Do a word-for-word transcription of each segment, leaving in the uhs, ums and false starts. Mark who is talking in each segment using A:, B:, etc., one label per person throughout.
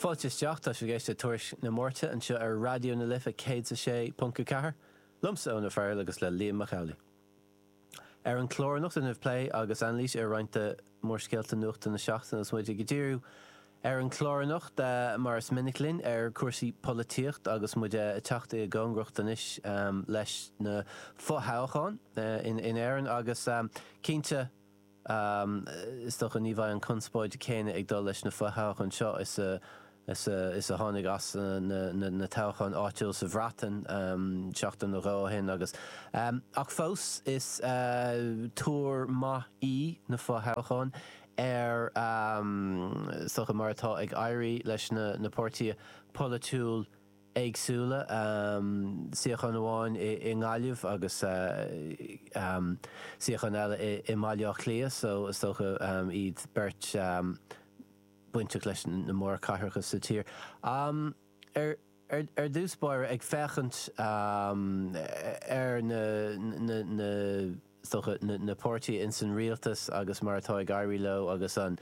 A: Fáilte isteach tá sibh ag éisteacht le Tuairisc na Máirte anseo ar Raidió na Life céad a sé ponc a ceathair, liomsa Eoin Ó Fearghail agus le Liam Mac Amhlaigh. Ar an chlár anocht inniu plé agus anailís ar roinnt de mhórscéalta nuachta na seachtaine agus muid ag díriú ar an chlár anocht mar is minic linn ar chúrsaí polaitíocht agus muid ag teacht i gcóngaracht anois leis na fothoghcháin in Éirinn agus cinnte Is dócha ní bheidh an conspóid céanna ag dul leis na fothoghcháin seo is a is a is a tháinig as na na toghcháin áitiúil sa Bhreatain seachtain nó dhó ó shin agus ach fós is tuar maith í na fothoghcháin ar is dócha mar atá ag éirí leis na na páirtithe polaitiúil éagsúla, suíochán amháin i nGaillimh agus suíochán eile i mBaile Átha Cliath, so is dócha iad beirt bainteach leis na mórchathracha sa tír. Ar ar dtús báire, ag féachaint ar na na is dócha, na páirtithe ins an rialtas agus mar atá ag éirí leo agus an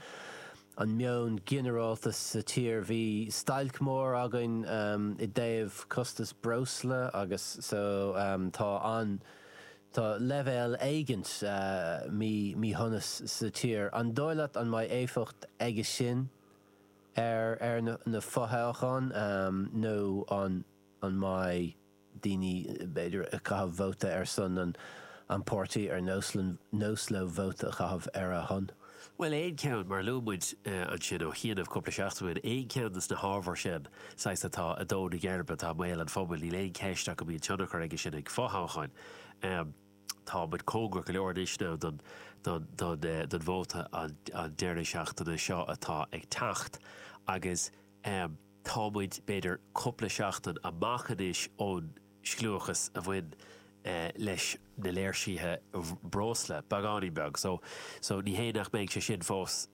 A: an meon ginearálta sa tír. Bhí stailc mór againn i dtaobh costas breosla agus so tá an tá leibhéal éigint mí míshonas sa tír. An dóigh leat an mbeidh éifeacht aige sin ar ar na fothoghcháin nó an an mbeidh daoine, b'fhéidir, ag caitheamh vóta ar son an an páirtí ar nós nós leo vóta a chaitheamh ar a shon.
B: Bhuel, aon cheann, mar a luaigh muid ansin ó chianaibh cúpla seachtain ó shin, aon cheann de na hábhair sin, saghas, atá ag dó na geirbe, atá i mbéal an phobail, níl aon cheist ach go mbíonn tionchar aige sin ag fothoghcháin. Tá muid cóngarach go leor anois now don don don don vóta an an deireadh seachtaine seo atá ag teacht agus tá muid, b'fhéidir, cúpla seachtain amach anois ón scliúchas a bhain leis na léirsithe breosla, beagáinín beag. So, so ní hé nach mbeidh sé sin fós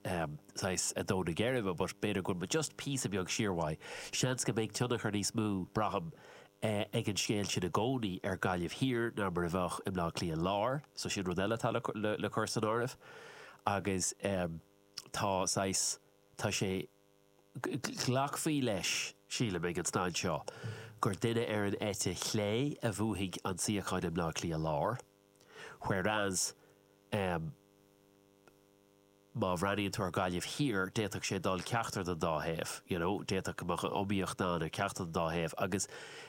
B: saghas ag dó na geirbe but b'fhéidir go bhfuil muid just píosa beag siar uaidh. Seans go mbeidh tionchar níos mó, braithim, ag an scéal sin i gcónaí ar Gaillimh Thiar ná mar a bheadh i mBleá Cliath Láir. So sin rud eile atá le, le, le cur san áireamh. Agus tá saghas, tá sé, Ghlacfaí leis, sílim, ag an staid seo, gur duine ar an eite chlé a bhuafaidh an suíochán i mBleá Cliath Láir, whereas em má bhreathnaíonn tú ar Ghaillimh Thiar, d'fhéadfadh sé dul ceachtar den dá thaobh, you know, d'fhéadfadh go mbeadh iomaíocht ann ar ceachtar den dá thaobh agus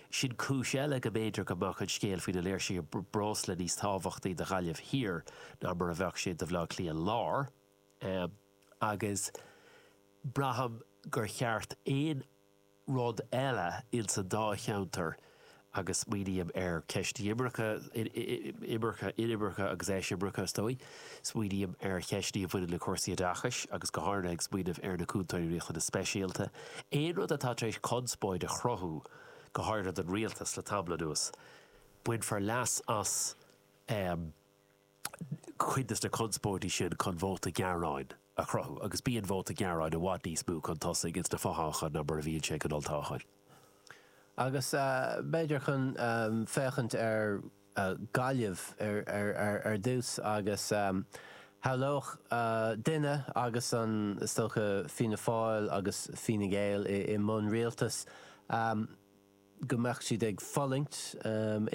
B: sin cúis eile go mb'fhéidir go mbeadh an scéal faoi na léirsithe breosla níos tábhachtaí do Ghaillimh Thiar ná mar a bheadh sé do Bhleá Cliath Láir. Em agus. Braithim gur cheart aon rud eile ins an dá cheantar, agus smaoiním ar cheist imirce, imirce, inimirce agus eisimirce is dóigh, smaoiním ar cheisteanna a bhaineann le cúrsaí oideachais agus go háirithe ag smaoineamh ar na cúntóirí riachtanas speisialta, aon rud atá tar éis conspóid a chruthú, go háirithe don rialtas le tamall anuas, bainfear leas as. cuid de na conspóidí sin chun vóta gearáin a chruthú, agus bíonn vóta gearáin i bhfad níos mó chun tosaigh ins na fothoghcháin ná mar a bhíonn sé ag an olltoghchán.
A: Agus b'fhéidir chun féachaint ar Ghaillimh ar dtús agus shamhlódh duine agus an, is dócha, Fianna Fáil agus Fine Gael i mbun rialtais, go mbeadh siad ag fulaingt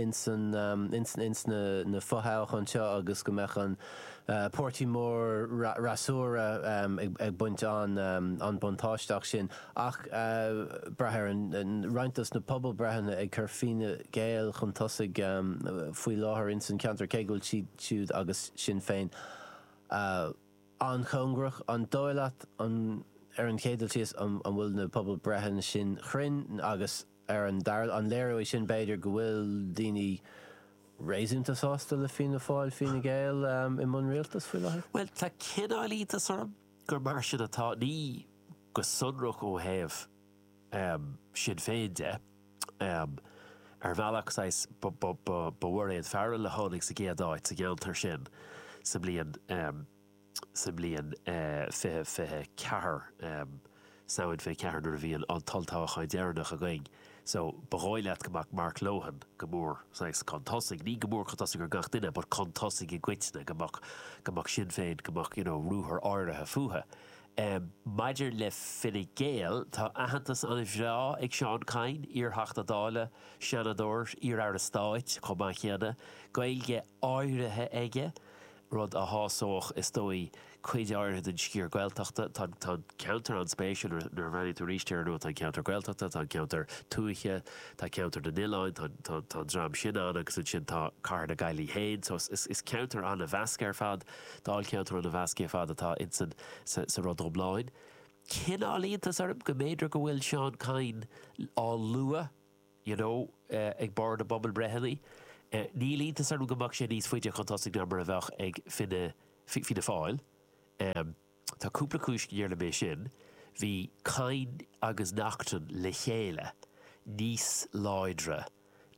A: ins ins na fothoghcháin seo agus go mbeadh an páirtí mór fhreasúra ag baint an an buntáiste as sin. Ach brath ar an roinnt dos na pobalbhreitheanna ag cur Fine Gael chun tosaigh faoi láthair ins an cheantar cé go bhfuil siad siúd agus Sinn Féin an-chóngarach. An dóigh leat an ar an chéad dul síos an bhfuil na pobalbhreitheanna sin cruinn agus ar an dara, an léiriú é sin b'fhéidir go bhfuil daoine réasúnta sásta le Fianna Fáil, Fine Gael i mbun rialtais faoi láthair?
B: Bhuel, tá cineál iontas orm gur mar sin atá, ní go sonrach ó thaobh Sinn Féin de. Ar bhealach, saghas, ba Mhairéad Farrell a tháinig sa gcéad áit sa gceantar sin sa mbliain sa mbliain fiche fiche ceathair, Samhain fiche ceathair nuair a bhí an t-olltoghchán deireanach againn. So, ba dhóigh leat go mbeadh Mark Lohan go mór saghas chun tosaigh, ní go mór chun tosaigh ar gach duine but chun tosaigh i gcoitinne, go mbeadh, go mbeadh Sinn Féin, go mbeadh you know ruathar áirithe fúthu. Um, maidir le Fine Gael tá aitheantas an-bhreá ag Seán Kyne, iarTheachta Dála, Seanadóir, iar-aire stáit chomh maith céanna, Gaeilge áirithe aige, rud a shásódh is dóigh cuid áirithe den sciar Gaeltachta tá tá ceantar an-spéisiúil nuair a bhreathnaíonn tú arís air nó tá ceantar Gaeltachta, tá ceantar tuaithe, tá ceantar na n-oileán, tá tá dream sin ann agus ansin tá cathair na Gaillimhe féin, so is, is ceantar an-mheasctha ar fad, dáilcheantar an-mheasctha ar fad atá insan sa, sa rud iomlán. Cineál iontas orm go mb'fhéidir go bhfuil Seán Kyne á lua you know, uh, ag barr na bpobalbhreitheanna. Uh, níl iontas orm go mbeadh sé níos faide chun tosaigh ná mar a bheadh ag Fine Fianna Fáil. Um, tá cúpla cúis go ndéarfainn é sin, bhí Kyne agus Naughton le chéile níos láidre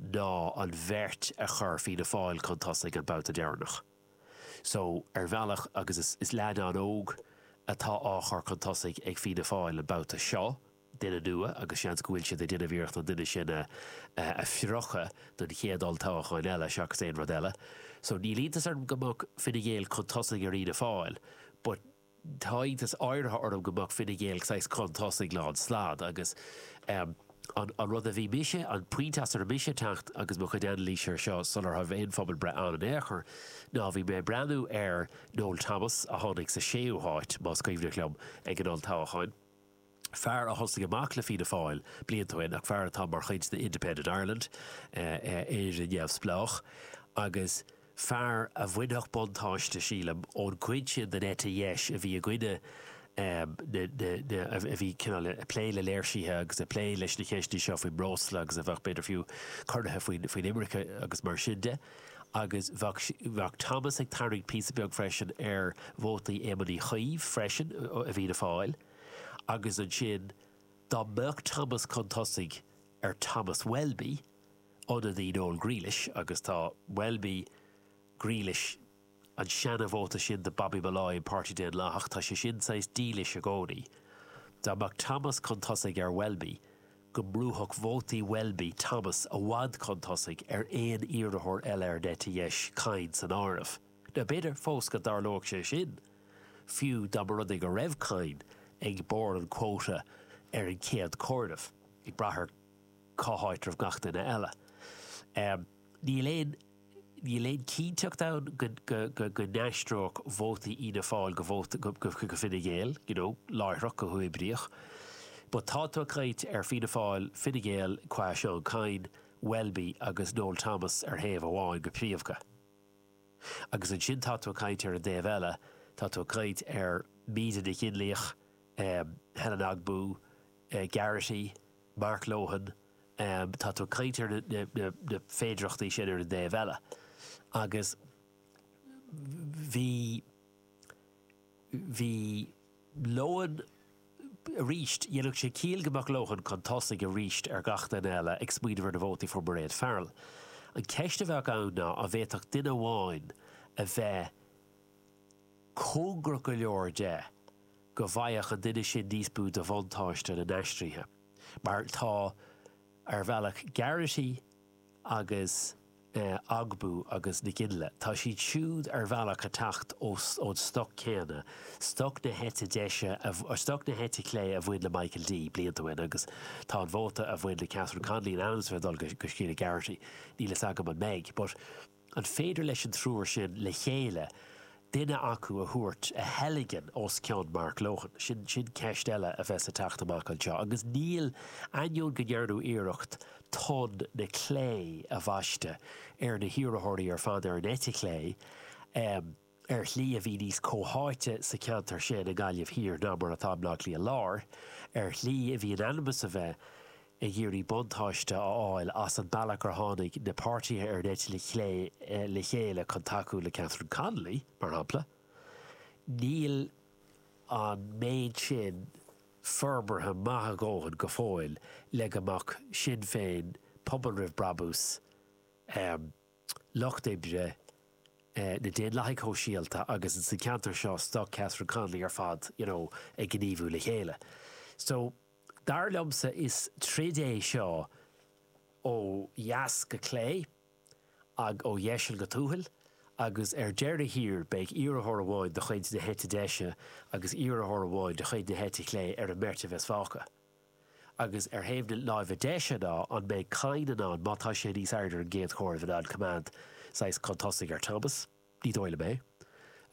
B: ná an bheirt a chur Fianna Fáil chun tosaigh an babhta deireanach. So ar bhealach agus is, is leadán óg atá á chur chun tosaigh ag Fianna Fáil an babhta seo, duine nua agus seans go bhfuil siad ag déanamh iarracht an duine sin a, a phrocadh don chéad olltoghchán eile seachas aon rud eile. So níl iontas orm go mbeadh Fine Gael chun tosaigh ar Fhianna Fáil, but tá iontas áirithe orm go mbeadh Fine Gael saghas chun tosaigh lán slad agus um, an, an rud a bhí mise an pointe as ar mise teacht agus mo chuid anailíse ar seo sular raibh aon phobalbhreith ann in aon chor ná bhí mé breathnú ar Noel Thomas a tháinig sa séú háit más cuimhneach liom ag an olltoghchán. Fear a thosaigh amach le Fianna Fáil blianta ó shin ach fear atá mar chuid de Independent Ireland Éire neamhspleách agus fear a bhainfeadh buntáiste sílim ón gcuid sin den eite dheis a bhí i gcoinne a bhí cineál ag plé le léirsithe agus ag plé leis na ceisteanna seo faoin mbreosla agus a bheadh b'fhéidir fiú corraithe faoin faoin imirce agus mar sin de. agus bheadh Thomas ag tarraingt píosa beag freisin ar vótaí Éamon Uí Chuív freisin a bhí a fáil. agus ansin dá mbeadh Thomas chun tosaigh ar Thomas Welby ionadaí Noel Grealish agus tá Welby Grealish an seanvóta sin de Bobby Molloy an Páirtí Daonlathach tá sé sin saghas dílis i gcónaí. Dá mbeadh Thomas chun tosaigh ar Welby, go mbrúfadh vótaí Welby Thomas i bhfad chun tosaigh ar aon iarrthóir eile ar an eite dheis Kyne san áireamh. Now b'fhéidir fós go dtarlódh sé sin, fiú dá mba rud é go raibh Kyne ag barr an quota ar an chéad chomhaireamh, ag brath ar cá háit raibh gach duine eile. Um, níl aon níl aon cinnteacht ann go, go, go, go n-aistreodh vótaí Fhianna Fáil go vóta go, go, go Fine Gael, you know, láithreach go huathoibríoch. But tá tú ag caint ar Fianna Fáil, Fine Gael, qua Seán Kyne, Welby agus Noel Thomas ar thaobh amháin go príomha. Agus ansin tá tú ag caint ar an dtaobh eile, tá tú ag caint ar Míde Nic Fhionnlaoich, um, Helen Ogbu, uh, Garrity, Mark Lohan, um, tá tú ag caint ar na, na, na, na féidearthachtaí sin ar an dtaobh eile. Agus bhí bhí Lohan arís dhéanfadh sé ciall go mbeadh Lohan chun tosaigh arís ar gach duine eile ag smaoineamh ar na vótaí fuair Mairéad Farrell. An ceist a bheadh ann ná an bhféadfadh duine amháin a bheith cóngarach go leor de go bhfaigheadh an duine sin níos mó de bhuntáiste na n-aistrithe. Mar tá ar bhealach Garrity agus eh, Ogbu agus Nic Fhionnghaile. Tá siad siúd ar bhealach ag teacht ón stoc céanna, stoc na heite deise a stoc na heite clé a bhain le Michael D blianta ó shin agus tá an vóta a bhain le Catherine Connolly in ainm is a bheith dul go Sheila Garrity. Níl a fhios agam an mbeidh, but an féidir leis an triúr sin le chéile duine acu a thabhairt a theilgean os cionn Mark Lohan. Sin sin ceist eile a bheas ag teacht amach anseo, agus níl ainneoin go ndearnadh iarracht ton na clé a bhaisteadh ar na hiarrthóirí ar fad ar an eite chlé um, ar shlí a bhí níos comhtháite sa cheantar sin i nGaillimh Thiar ná mar atá i mBaile Átha Cliath Láir, ar shlí a bhí in ainm is a bheith ag iarraidh buntáiste a fháil as an bealach ar tháinig na páirtithe ar an eite chlé le chéile chun tacú le Catherine Connolly, mar shampla. Níl an méid sin forbartha maith a dhóthain go fóill le go mbeadh Sinn Féin, Pobal Roimh Brabús, um, Lucht Oibre, uh, na Daonlathaigh Shóisialta agus sa cheantar seo stoc Catherine Connolly ar fad you know, ag gníomhú le chéile. So dar liomsa is troid é seo ó dheas go clé ag ó dheis go tuathal Agus ar deireadh thiar beidh iarrthóir amháin de chuid na heite deise agus iarrthóir amháin de chuid na heite clé ar an mbeirt a bheas fágtha. Agus ar thaobh na láimhe deise ná an mbeidh Kyne in ann, má tá sé níos airde ar an gcéad chomhaireamh, in ann coimeád saghas chun tosaigh ar Thomas? Ní dóigh liom é.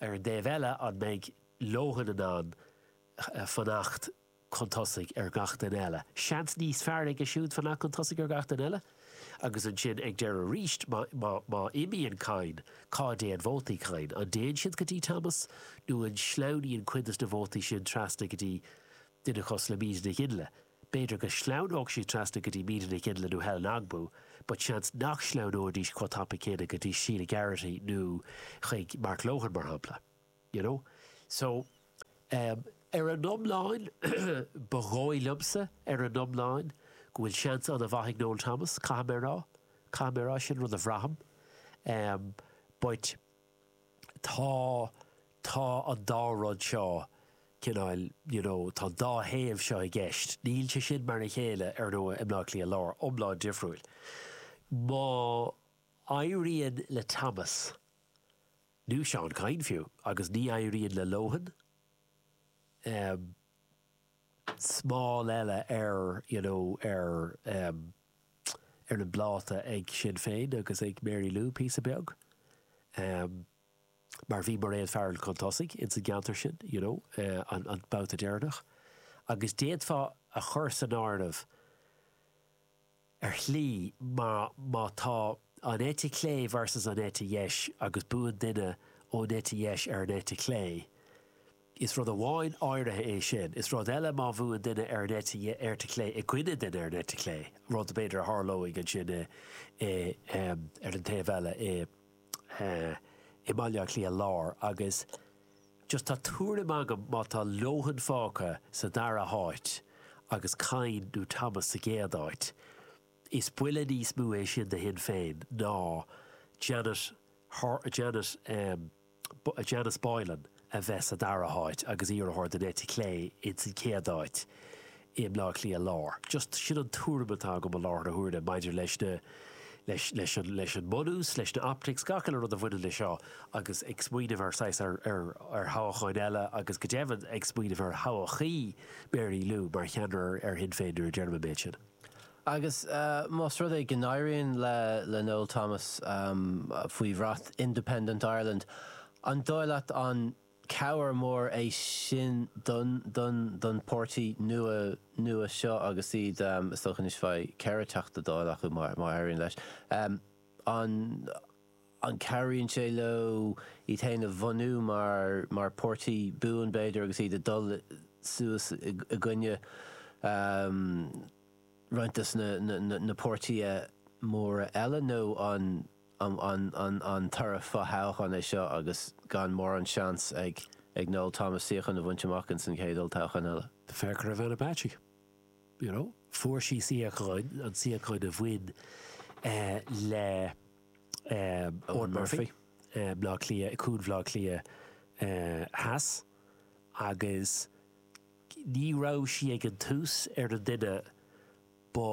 B: Ar an dtaobh eile, an mbeidh Lohan in ann fanacht chun tosaigh ar gach duine eile? Seans níos fearr aige siúd fanacht chun tosaigh ar gach duine eile. Agus ansin ag deireadh arís, má, má, má imíonn Kyne, cá dtéann vótaí Kyne? An dtéann siad go dtí Thomas nó an sleamhnaíonn cuid des na vótaí sin trasna go dtí duine cosúil le Míde Nic Fhionnghaile? B'fhéidir go sleamhnódh siad trasna go dtí Míde Nic Fhionnghaile nó Helen Ogbu, but seans nach sleamhnóidís chomh tapa céanna go dtí Sheila Garrity nó chuig Mark Lohan, mar shampla. You know? So, um, ar an iomlán, ba dhóigh liomsa ar an iomlán go bhfuil seans an-mhaith ag Noel Thomas, caithfidh mé a rá, caithfidh mé a rá, sin rud a bhraithim. Um, but tá, tá an dá rud seo cineál, you know, tá an dá thaobh seo i gceist. Níl sé sin mar a chéile ar ndóigh i mBleá Cliath Lár, iomlán difriúil. Má éiríonn le Thomas, nó Seán Kyne fiú, agus ní éiríonn le Lohan, um, smál eile ar, you know, ar, um, ar an bpláta ag Sinn Féin agus ag Mary Lou píosa beag. Um, mar bhí Mairéad Farrell chun tosaigh ins an gceantar sin, you know, uh, an, an babhta deireanach. Agus d'fhéadfá a chur san áireamh ar shlí má, má tá an eite chlé versus an eite dheis agus buann duine ón eite dheis ar an eite chlé, is rud amháin áirithe é sin. Is rud eile má bhuann duine ar an eite, eite chlé i gcoinne duine ar an eite chlé, rud b'fhéidir a tharlóidh ansin i, i, um, ar an taobh eile i, uh, i mBaile Átha Cliath Lár. Agus just tá tuairim agam má tá Lohan fágtha sa dara háit agus Kyne nó Thomas sa gcéad áit, is buille níos mó é sin do Shinn Féin ná Janet, Janet, um, Janice Boylan a bheith sa dara háit agus iarrthóir den eite chlé ins an chéad áit i mBleá Cliath Lár. Just sin an tuairim atá agam i láthair na huaire maidir leis na leis, leis, an, leis an mbunús, leis na optics, gach uile rud a bhaineann leis seo agus ag smaoineamh ar saghas ar, ar, ar thoghcháin eile agus go deimhin ag smaoineamh ar thodhchaí Mary Lou mar cheannaire ar Shinn Féin nuair a deirim an méid sin.
A: Agus uh, más rud é go n-éiríonn le, le Noel Thomas um, faoi bhrat Independent Ireland, an dóigh leat an cabhair mór é sin don, don, don páirtí nua nua seo agus iad um, is dócha anois faoi ceithre Teachta Dála acu má má éiríonn leis. Um, an an cabhraíonn sé leo iad féin a bhunú mar mar páirtí buan b'fhéidir agus iad ag dul suas i, i gcoinne um, roinnt des na, na, na, na páirtithe móra eile nó an an, an, an, an toradh fothoghcháin é seo agus gan mórán seans ag ag Noel Thomas suíochán a bhaint amach ins an chéad olltoghchán eile.
B: Féach ar Vanna Bacci. You know, fuair sí suíochán, an suíochán a bhain eh, le um, Owen Murphy, eh, Bleá Cliath, Cuan Bhleá Cliath eh, Theas, agus ní raibh sí ag an tús ar an duine ba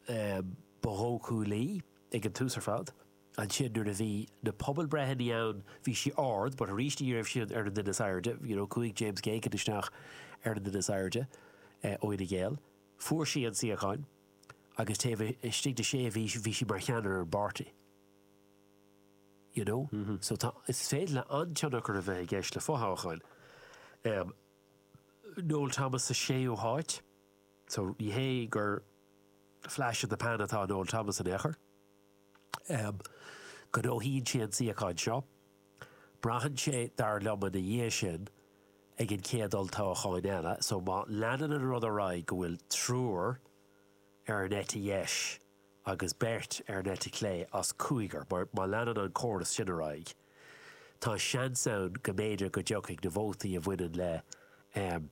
B: um, ba dhóchúlaí ag an tús ar fad. Ansin nuair a bhí na pobalbreitheanna ann bhí sí ard, but arís ní raibh sí ar an duine is airde, you know, chuaigh James Geoghegan isteach ar an duine is airde eh, ó Fhine Gael. Fuair sí an suíochán agus taobh istigh de sé mhí bhí sí mar cheannaire ar an bpáirtí. You know? Mm -hmm. So tá is féidir le an-tionchar a bheith i gceist le fothoghcháin. Um, Noel Thomas sa séú háit, so ní hé gur flash in the pan atá Noel Thomas in aon chor. Um, gnóthaíonn sé an suíochán seo. Braitheann sé dar liom ina dhiaidh sin ag an chéad olltoghchán eile, so má leanann an rud ar aghaidh go bhfuil triúr ar an eite dheis agus beirt ar an eite chlé as cúigear, mar má leanann an córas sin ar aghaidh. Tá seans ann go mb'fhéidir go dtiocfaidh na vótaí a bhaineann le um,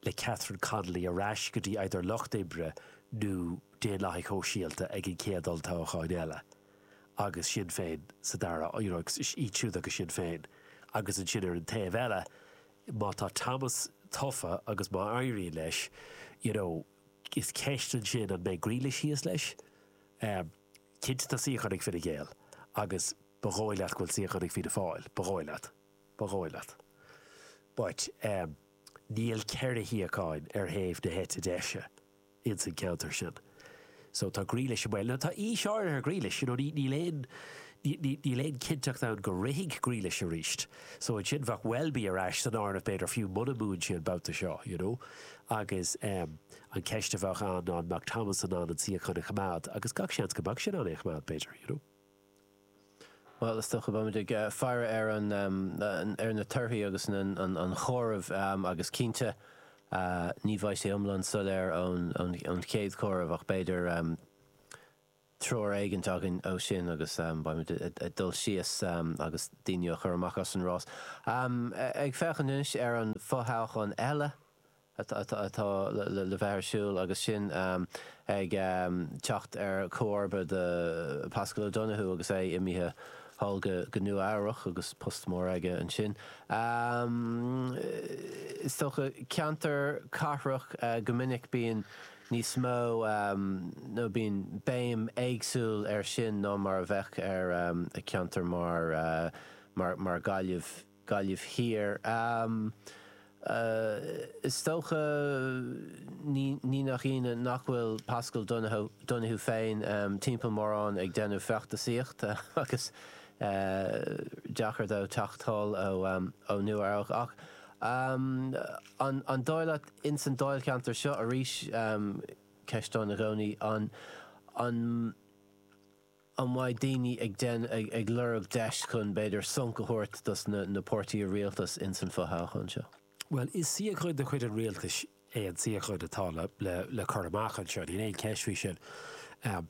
B: le Catherine Connolly ar ais go dtí either Lucht Oibre nó Daonlathaigh Shóisialta ag an chéad olltoghchán eile. Agus Sinn Féin sa dara, you know, iad siúd agus Sinn Féin. Agus ansin ar an taobh eile, má tá Thomas tofa agus má éiríonn leis, you know, is ceist ansin an mbeidh Grealish thíos leis. Um, cinnte tá suíochán ag Fine Gael agus Ba dhóigh leat go bhfuil suíochán ag Fianna Fáil, ba dhóigh leat. Ba dhóigh leat. But um, níl ceithre shuíochán ar thaobh na heite deise ins an ceantar sin. So tá Grealish i mbaol. Now tá aois áirithe ar Grealish, you know, níl aon níl aon cinnteacht ann go rithfidh Grealish arís. So ansin bheadh Welby ar ais san áireamh b'fhéidir fiú muna mbuann sé an babhta seo, you know. Agus um, an ceist a bheadh ann an mbeadh Thomas in ann an suíochán a choimeád, agus gach seans go mbeadh sé in ann é a choimeád b'fhéidir, you know.
A: Well is dócha beimid ag uh, faire ar an um, ar na torthaí agus an, an, an chomhaireamh um, agus cinnte uh, ní bheidh sé iomlán soiléir ón, ón, ón chéad chomhaireamh ach b'fhéidir um, treoir éigin againn ó sin agus um, beimid ag dul síos um, agus daoine a chur amach as an rás. Um, ag féachaint anois ar an fothoghchán eile atá le bheith ar siúl agus sin um, ag um, teacht ar chomharba de Paschal O'Donoghue agus é imithe thall go go Nua-Eabhrac agus post mór aige ansin. Um, is dócha ceantar cathrach uh, go minic bíonn níos mó um, nó bíonn béim éagsúil ar sin ná mar a bheadh ar um, a ceantar mar, uh, mar, mar Gaillimh Gaillimh Thiar. Um, Uh, is dócha ní nach ionadh nach bhfuil Paschal Donohoe féin um, timpeall mórán ag déanamh feachtasaíocht agus uh, deacair dó teacht thall ó, um, ó Nua-Eabhrac ach um, an, an dóigh leat ins an dáilcheantar seo arís um, ceist ann i gcónaí an an an mbeidh daoine ag den ag, ag lorg deis chun b'fhéidir sonc a thabhairt dos na, na páirtithe rialtais ins an fothoghchán seo.
B: Well, is suíochán de chuid an rialtais é an suíochán atá le, le, le cur amach anseo, níl aon cheist faoi sin. Um,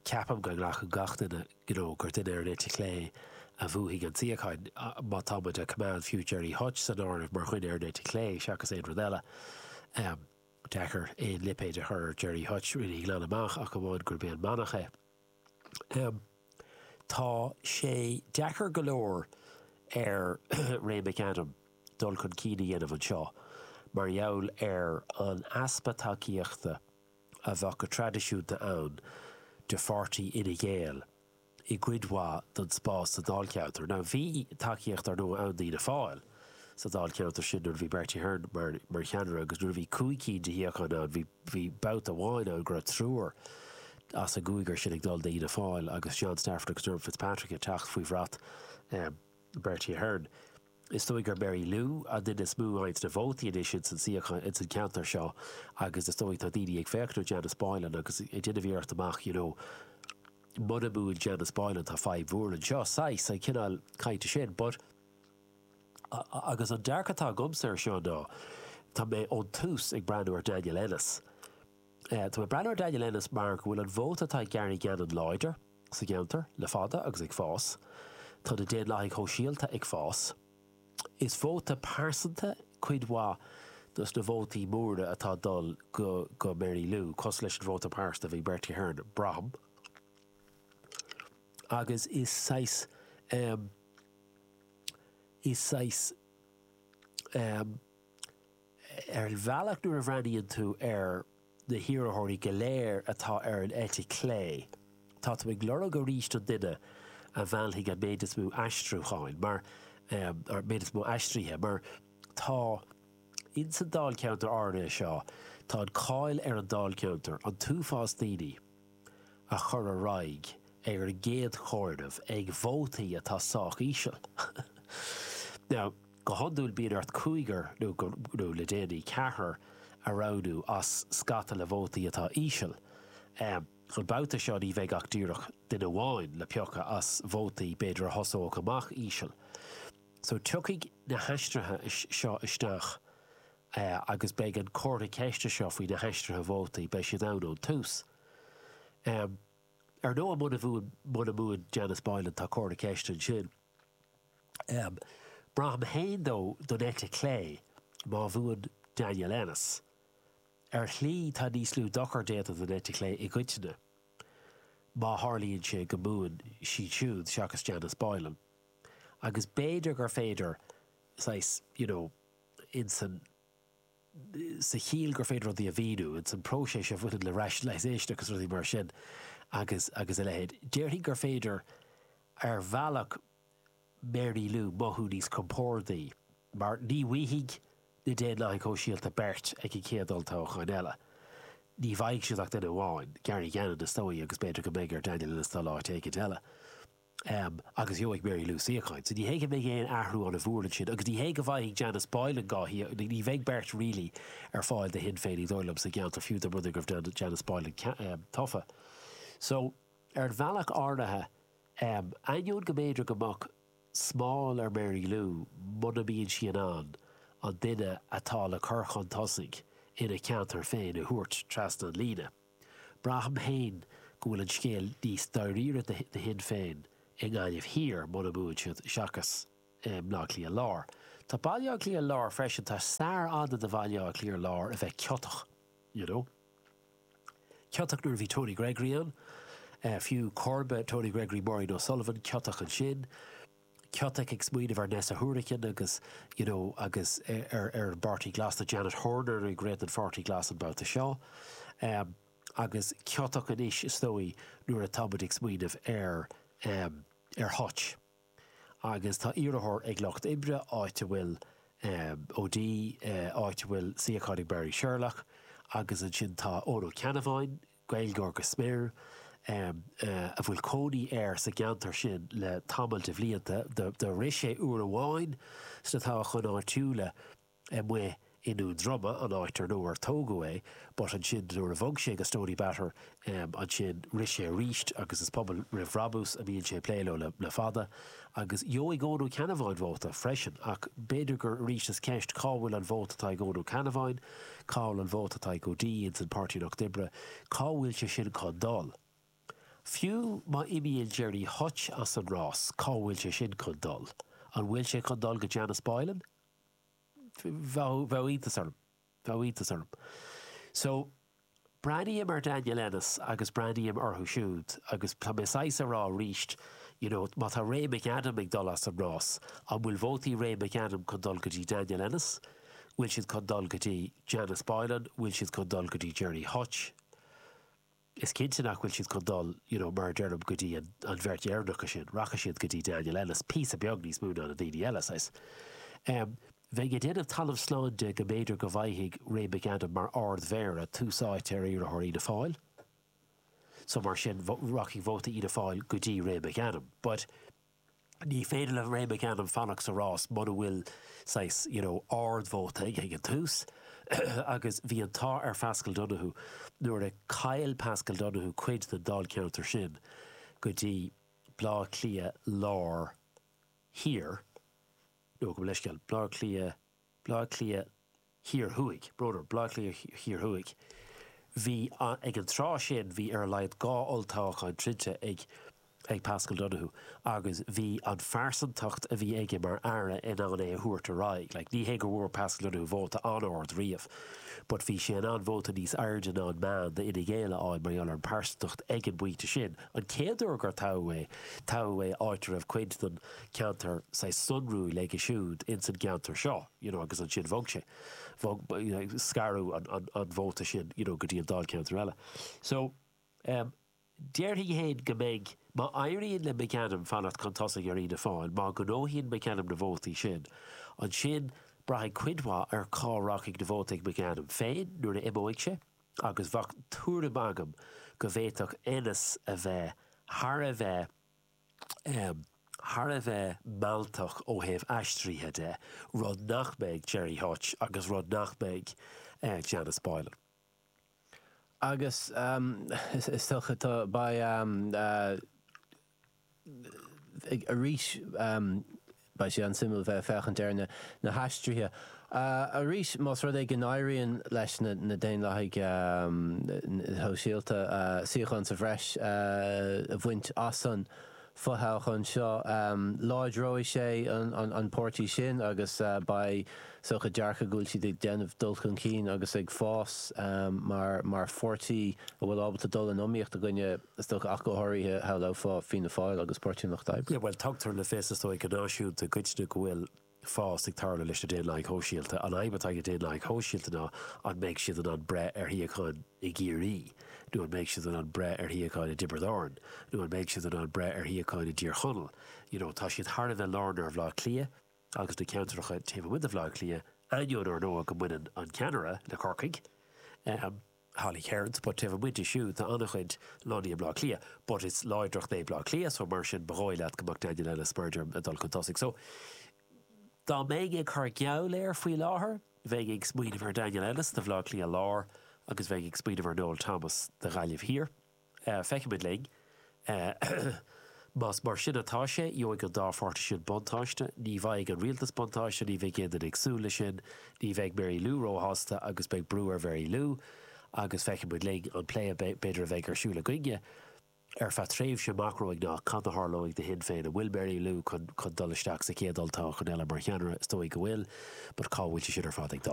B: ceapaim go nglacfaidh gach duine you know, gur duine ar an eite chlé a bhuafaidh an suíochán má tá muid ag coimeád fiú Gerry Hutch san áireamh mar dhuine ar an eite chlé seachas aon rud eile. Um, deacair aon lipéad a chur Gerry Hutch rinne glan amach ach amháin gurb é an manach é. Um, tá sé deacair go leor ar Ray McAdam dul chun cinn a dhéanamh anseo, mar gheall ar an easpa tacaíochta a bheadh go traidisiúnta ann de pháirtí Fhine Gael i gcuid mhaith den spás sa dáilcheantar. Now bhí tacaíocht ar ndóigh ann d'Fhianna Fáil sa dáilcheantar sin nuair a bhí Bertie Ahern mar, mar cheannaire agus nuair a bhí cúig cinn de shuíocháin ann bhí, bhí babhta amháin ann go raibh triúr as an gcúigear sin ag dul d'Fhianna Fáil agus John Stafford agus Dermot Fitzpatrick ag teacht faoi bhrat um, Bertie Ahern. Is dóigh gur Mary Lou an duine is mó a fhaigheann na vótaí anois ins an suíochán ins an ceantar seo agus is dóigh tá daoine ag féachaint ar Janice Boylan agus ag déanamh iarracht amach you know, muna mbuann Janice Boylan tá fadhb mhór anseo saghas an cineál cainte sin, but agus an dearcadh atá agamsa ar seo ná tá mé ón tús ag breathnú ar Daniel Ennis. Uh, tá mé breathnú ar Daniel Ennis mar go bhfuil an vóta atá ag Gary Gannon láidir sa gceantar le fada agus ag fás. Tá na Daonlathaigh Shóisialta ag fás. Is vóta pearsanta cuid mhaith dos na vótaí móra atá dul go, go Mary Lou, cosúil leis an vóta pearsanta a bhí Bertie Ahern braithim. Agus is saghas um, is saghas um, ar bhealach nuair a bhreathnaíonn tú ar na hiarrthóirí go léir atá ar an eite chlé. Tá tú ag lorg arís an duine a mheallfaidh an méid is mó aistriúcháin mar um, ar méid is mó aistrithe, mar tá ins an dáilcheantar áirithe seo, tá an cáil ar an dáilcheantar an t-uafás daoine a chur ar aghaidh ar an gcéad chomhaireamh ag vótaí atá sách íseal. Now, go hiondúil bíonn ort cúigear nó, nó le déanaí ceathrar a roghnú as scata le vótaí atá íseal. Um, an babhta seo ní bheidh ach díreach duine amháin le piocadh as vótaí b'fhéidir a thosódh amach íseal. So tiocfaidh na haistrithe seo isteach uh, agus beidh an comhartha ceiste seo faoi na haistrithe vótaí beidh siad ann ón tús. Um, ar ndóigh muna bhuann muna mbuann Janice Boylan tá comhartha ceiste ansin. Um, Braithim féin dó don eite chlé má bhuann Daniel Ennis. Ar shlí tá níos lú dochar déanta don eite chlé i gcoitinne. Má tharlaíonn sé go mbuann siad siúd seachas Janice Boylan. Agus b'fhéidir gur féidir saghas, you know, insan sa chiall gur féidir rudaí a mhíniú, ins an próiseas a bhaineann le rationalisation agus rudaí mar sin agus agus a leithéid. Déarfainn gur féidir ar bhealach Mary Lou mothú níos compordaí, mar ní bhfaighidh na Daonlathaigh Shóisialta beirt ag an chéad olltoghchán eile. Ní bhfaighidh siad ach duine amháin, Gary Gannon is dóigh agus b'fhéidir go mbeidh ar Daniel Ennis dul áit éicint eile. Um, agus gheobhaidh Mary Lou suíochán. So ní hé go mbeidh aon athrú an-mhór ansin, agus ní hé go bhfaighidh Janice Boylan dhá ní bheidh beirt really ar fáil do Shinn Féin ní dóigh liom sa gceantar fiú dá mba rud é go raibh Janice Boylan um, tofa. So ar bhealach áirithe um, ainneoin go mb'fhéidir go mbeadh smál ar Mary Lou muna mbíonn sí in ann an duine atá le cur chun tosaigh ina ceantar féin a thabhairt trasna an líne. Braithim féin go bhfuil an scéal níos dáiríre do Shinn Féin i nGaillimh Thiar muna mbuann siad seachas i mBaile Átha Cliath Lár. Tá Baile Átha Cliath Lár freisin tá stair fhada de Bhaile Átha Cliath Lár a bheith ciotach, you know. Ciotach nuair a bhí Tony Gregory ann, uh, fiú comharba Tony Gregory Maureen O'Sullivan ciotach ansin, ciotach ag smaoineamh ar Neasa Hourigan agus you know, agus ar ar an bPáirtí Glas na Janet Horner ag rith an Pháirtí Glas an babhta seo. Um, agus ciotach anois is dóigh nuair atá muid ag smaoineamh ar um, ar Hutch. Agus tá iarrthóir ag Lucht Oibre áit a bhfuil um, O'Dea uh, áit a bhfuil suíochán ag Barry Sherlock, agus ansin tá Eoin Ó Ceannabháin, Gaeilgeoir go smior, um, uh, a bhfuil cónaí air sa gceantar sin le tamall de bhlianta, do rith sé uair amháin sna toghcháin áitiúla amuigh i nDún Droma an áit ar nó ar tógadh é, but ansin nuair a bhog sé go Stoneybatter um, ansin rith sé arís agus is pobal roimh bhrabús a bhíonn sé plé leo le, le fada, agus gheobhaidh Eoin Ó Ceannabháin vóta freisin ach b'fhéidir gur arís is ceist cá bhfuil an vóta atá ag Eoin Ó Ceannabháin, cá bhfuil an vóta atá ag O'Dea ins an Páirtí Lucht Oibre, cá bhfuil sé sin chun dul. Fiú má imíonn Gerry Hutch as an rás, cá bhfuil sé sin chun dul. An bhfuil sé chun dul go Janice Boylan? Bheadh iontas orm. Bheadh iontas orm. So, breathnaím ar Daniel Ennis agus breathnaím orthu siúd agus tá mé saghas ag rá arís, you know, má tá Ray McAdam ag dul as an rás, an bhfuil vótaí Ray McAdam chun dul go dtí Daniel Ennis, bhfuil siad chun dul go dtí Janice Boylan, bhfuil siad chun dul go dtí Gerry Hutch. Is cinnte nach bhfuil siad chun dul you know, mar deirim go dtí an, an bheirt dheireanach sin, rachaidh siad go dtí Daniel Ennis, píosa beag níos mó ná na daoine eile saghas. Um, Bheinn ag déanamh talamh slán de go mb'fhéidir go bhfaighidh Ray McAdam mar ardmhéara tús áite ar iarrthóir Fhianna Fáil. So mar sin rachaidh vóta Fhianna Fáil go dtí Ray McAdam. But ní féidir le Ray McAdam fanacht sa rás muna bhfuil saghas you know, ardvóta ag an tús. agus bhí an t-ádh ar Paschal Donohoe nuair a chaill Paschal Donohoe cuid den dáilcheantar sin go dtí Bleá Cliath Lár Thiar nó go leisceal Bleá Cliath Bleá Cliath Thiar Thuaidh, brother Bleá Cliath Thiar Thuaidh. Bhí ag an tráth sin bhí ar a laghad dhá olltoghchán troidte ag ag Paschal Donohoe agus bhí an phearsantacht a bhí aige mar aire in ann é a thabhairt ar aghaidh. Like, ní hé go bhfuair Paschal Donohoe vóta an-ard riamh, but bhí sé in ann vóta níos airde ná an meán d'Fhine Gael a fháil mar gheall ar an pearsantacht ag an bpointe sin. An chéad uair gur toghadh é toghadh é áit a raibh cuid den ceantar saghas sonrúil aige siúd ins an gceantar seo, you know, agus ansin bhog sé. Bhog you know, scaradh an, an, an vóta sin you know, go dtí an dáilcheantar eile. So um, Déarfainn féin go mbeidh má éiríonn le McAdam fanacht chun tosaigh ar Fhianna Fáil, má ghnóthaíonn McAdam na vótaí sin. Ansin braithfidh cuid mhaith ar cá rachaidh na vótaí ag McAdam féin nuair a imeoidh sé, agus bheadh tuairim agam go bhféadfadh Ennis a bheith thar a bheith um, thar a bheith mealltach ó thaobh aistrithe de, rud nach mbeidh Gerry Hutch agus rud nach mbeidh uh, Janice Boylan.
A: Agus um, is, is dócha tá beidh um, uh, arís um, beidh sé an-suimiúil bheith féachaint ar na, na haistrithe. Uh, arís más rud é go n-éiríonn leis na, na Daonlathaigh um, shóisialta uh, suíochán sa bhreis uh, a bhaint as an fothoghchán seo um, láidreoidh sé an, an, an páirtí sin agus uh, beidh is dócha dearcadh go bhfuil siad ag déanamh dul chun cinn agus ag fás um, mar, mar pháirtí a bhfuil ábalta dul in iomaíocht i gcoinne is dócha ach go háirithe shamhlófá Fianna Fáil agus Páirtí an Lucht Oibre.
B: Yeah, well tugtar le fios is dóigh go náisiúnta goidne go bhfuil fás ag tarlú leis na Daonlathaigh Shóisialta. An fhadhb atá ag Daonlathaigh Shóisialta ná an mbeidh siad in ann breith ar shuíocháin i gCiarraí, nó an mbeidh siad in ann breith ar shuíocháin i dTiobraid Árann, nó an mbeidh siad in ann breith ar shuíocháin i dTír Chonaill. You know, tá siad thar a bheith lárnach ar Bhaile Átha Cliath agus na ceantracha taobh amuigh de Bhaile Átha Cliath, ainneoin ar ndóigh go mbaineann an ceannaire le Corcaigh, um, Holly Cairns, but taobh amuigh de siúd tá an-chuid lonnaithe i mBaile Átha Cliath, but is láidreacht é Baile Átha Cliath, so mar sin ba dhóigh leat go mbeadh Daniel Ennis mar ag dul chun tosaigh. So, dá mbeinn ag cur geall air faoi láthair, bheinn ag smaoineamh ar Daniel Ennis do Bhaile Átha Cliath Lár agus bheinn ag smaoineamh ar Noel Thomas do Ghaillimh Thiar. Uh, feicfimid linn. Uh, Más mar sin atá sé gheobhaidh an dá pháirtí sin buntáiste, ní bheidh an rialtas buntáiste, ní bheidh aon duine ag súil leis sin, ní bheidh Mary Lou róshásta agus beidh brú ar Mary Lou agus feicfimid linn an plé b'fhéidir a bheidh ar siúl againne ar feadh tréimhse amach romhainn ná cad a tharlóidh do Shinn Féin an bhfuil Mary Lou chun chun dul isteach sa chéad olltoghchán eile mar cheannaire is dóigh go bhfuil, but cá bhfuil sé sin ar fad ag dul.